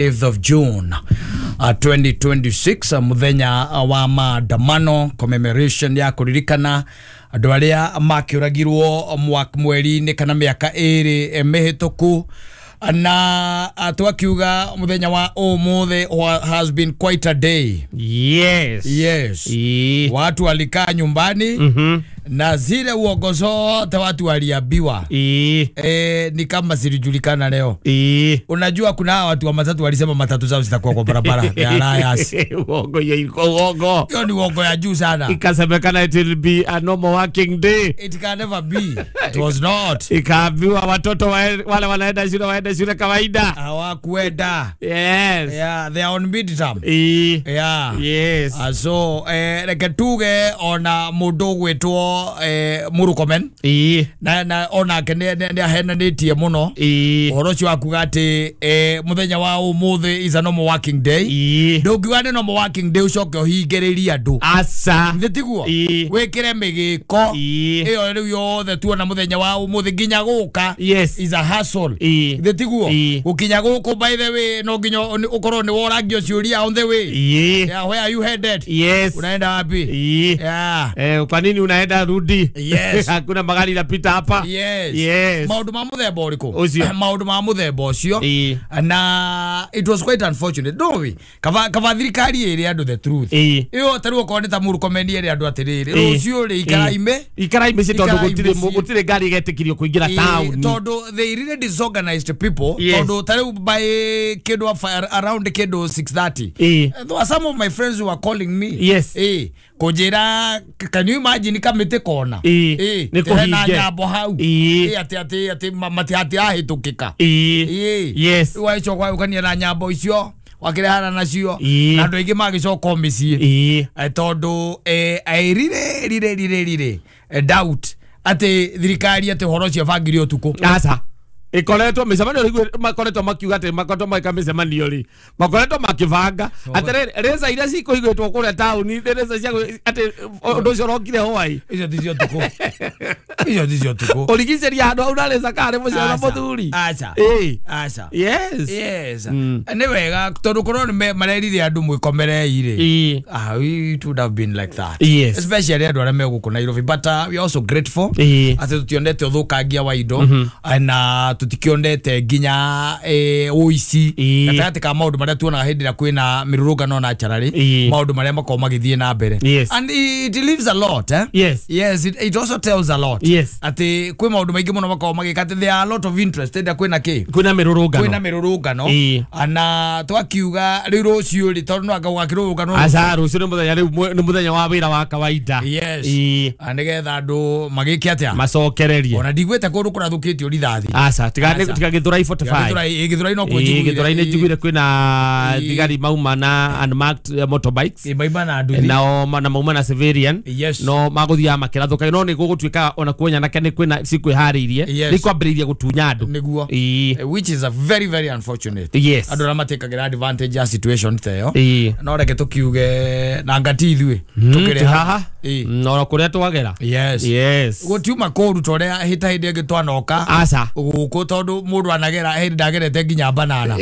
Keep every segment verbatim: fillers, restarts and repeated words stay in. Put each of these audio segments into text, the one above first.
fifth of June uh, twenty twenty-six, uh, muthenya wa maandamano commemoration ya kuririkana andu aria makiuragirwo mweri-inĩ kana miaka ĩrĩ mĩhĩtũku. Na twakiuga muthenya wa umuthi has been quite a day. Yes. Yes. E. Watu walikaa nyumbani. Mm-hmm. Na zile uongo zote watu waliambiwa. E. E, ni kama zilijulikana leo. E. Unajua kuna watu wa matatu walisema matatu zao zitakuwa kwa barabara. Ya liars. Uongo ya uongo. Hiyo ni uongo ya juu sana. Ikasemekana it will be a normal working day. It can never be. It was not. Ikaambiwa watoto wale wanaenda shule waende shule kawaida. Hawakuenda. Yes. Yeah, they are on midterm. E. Yeah. Yes. Uh, so eh reke tuge ona mundu gwitwo eh Murkomen. E. Na na onake ne ne ahenanitie muno. E. Uhoro ucio akuga ati eh muthenya wa umuthi is a normal working day. E. Ndungiuga ni normal working day ucoke uhingiririe andu. Asa. Nthi tiguo. E. Wikire migiko. E. Iyo riu yothe tuona muthenya wa umuthi nginya guka. Yes. Is a hustle. E. Nthi tiguo. E. Gukinya guku by the way no nginya ukorwo ni worangio ciuria on the way. E. Yeah, where are you headed? Yes. Unaenda wapi? E. Yeah. Eh, kwa nini unaenda rudi? Yes. Hakuna magari inapita hapa. Yes. Yes. Maundu ma muthemba uriku? Ucio. Maundu ma muthemba ucio. E. Na it was quite unfortunate. Don't we? Kava kava thirikari iri andu the truth. E. Iyo taru okorwo ni ta Murkomen iri andu atiriri. Rucio ri ikaraime. Ikaraime ci tondu gutire gutire ngari igetikirio kuingira town. Tondu they really disorganized people. Yes. Tondu taru by kindu around kindu six thirty. E. There were some of my friends who were calling me. Yes. Eh. Kujira, can you imagine kamite kona? E. Eh. Ni na nyambo hau. E. Ati ati ati mati ati ahitukika. E. E. Yes. Waico kwa ukania na nyambo icio wakirehana nacio E. na andu aingi magicoka micii. E. Tondu eh I really really really really doubt ati thirikari ati horo cio bangire utuku. Asa. Ikoretwo micemanio riu makoretwo makiuga ati makoretwo maika micemanio ri makoretwo makibanga atiriri reza iria cikuhingwitwo kuria tauni reza cia ati undu ucio urokire hwai icio ti cio tuku icio ti cio tuku urigiceria handu hau na reza kari muciara muthuri. Aca. Aca. Yes. Yes. Ni wega tondu korwo ni marerire andu mwikomerei ri. Ah, it would have been like that. Yes. Especially andu aria meguku Nairobi, but uh, we are also grateful ati tutionete uthukangia wa indo na tutikionete nginya eh uici gatagati ka maundu maria tuonaga hindi ria kwina mirurungano na charari maundu maria makoragwo magithie na mbere. Yes. And it leaves a lot, eh? Yes. Yes, it, it also tells a lot. Yes. Ati kwi maundu maingi muno makoragwo magika ati there are a lot of interest enda kwina ki kwina mirurungano kwina mirurungano ana twakiuga riu rucio ri tondu no anga gukirurungano aca rucio ni muthenya riu ni muthenya wa wira wa kawaida. Yes. Nigetha andu magike atia macokererie ona ndigwete kundu kurathukitio rithathi. Aca tiga tiga Githurai forty-five Githurai no kujiguire Githurai ni njiguire kwina thigari mauma na unmarked motorbikes e mauma na nduthi nao na mauma na civilian. Yes. No maguthiaga makirathuka no ni gugutuika ona kuo nyanake ni kwina cikwihariirie ni kwambiriria gutunya andu niguo, which is a very very unfortunate. Yes. Andu aria matekagira advantage ya situation ta iyo no reke tukiuge na ngati ithuĩ tukire haha no kuria twagera. Yes. Yes. Gutiuma kuru toria hita hindi ingi twanoka aca guku tondu mundu anagera hindi ndagerete nginya banana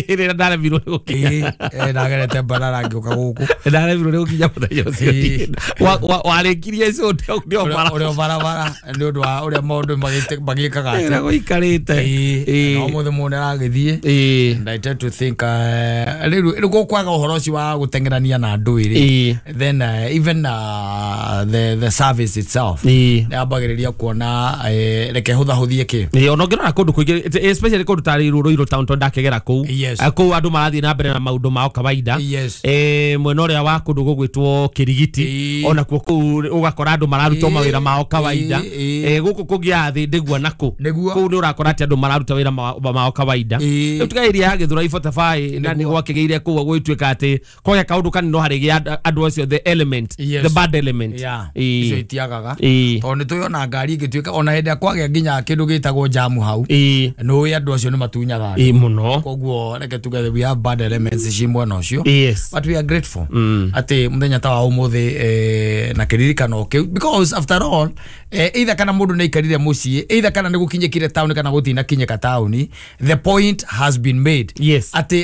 rira ndaremirwo ni gukinya eh ndagerete banana ngiuka guku ndaremirwo ni gukinya muthenya ucio warikirie icio ndio bara uria barabara ni undu wa uria maundu magikaga ati ira guikarite no muthe mundu aragithie. And I tend to think riu riu gukwaga uhoro ucio wa gutengerania na andu iri then uh, even uh, the the service itself yambagiriria kuona reke huthahuthie ki ni ona ngirora kundu kuingi especially kundu tari Ruiru town tondu ndakegera kuu kuu andu marathie na mbere na maundu mao kawaida. Eh mwena uria wa kundu gugwitwo Kirigiti ona kuo kuu ugakora andu mararuta mawira mao kawaida. Eh guku kungia thi ndigua naku kuu ni urakora ati andu mararuta wira mao kawaida. Riu tiga area ya Githurai forty-five na ni gwakigeire kuu gwituika ati kwagĩa kaundu kanini no harigia andu acio the element the bad element icio itiagaga tondu ni tuyona ngari igituika ona hindi kwagĩa nginya kindu gitagwo damu hau. Ĩĩ. Nĩ andũ acio nĩ matunyaga andũ. Ĩĩ mũno. Koguo reke tuge we have bad elements ci mwena ũcio, yes but we are grateful atĩ mũthenya ta wa ũmũthĩ eh, na kĩririkano kĩu, because after all, eh, either kana mũndũ nĩ aikarire mũciĩ, either kana nĩ gũkinyĩkire taũni kana gũtinakinyĩka taũni, the point has been made Yes. atĩ